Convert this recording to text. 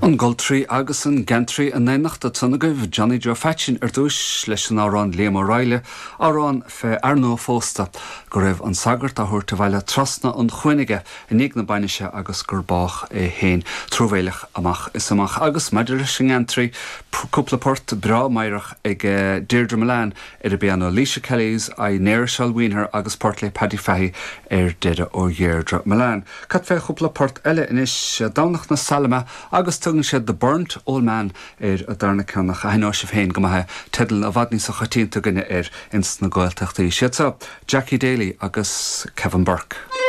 An Goltraí agus an Geantraí in éineacht ansan agaibh, Johnny Joe Pheaitsín ar dtúis leis an amhrán Liam Ó Raghallaigh, amhrán fé fhear nua-phósta go raibh an sagart á thabhairt abhaile trasna an chuain aige i ndiaidh na bainise agus gur bádh é féin. Truamhéileach amach is amach. Agus maidir leis an ngeantraí, cúpla port breá meidhreach ag Deirdre Mullane ar an bpianó, Laoise Kelly's I Ne'er Shall Wean Her agus port le Paddy Fahy ar deireadh ó Dheirdre Mullane. Cad fé chúpla port eile anois? Domhnach na Saileime agus tugann siad The Burnt Old Man ar an darna ceann ach aithneoidh sibh féin go maith é, teideal i bhfad níosa choitianta againne air ins na Gaeltachtaí. Siad seo Jackie Daly agus Kevin Burke.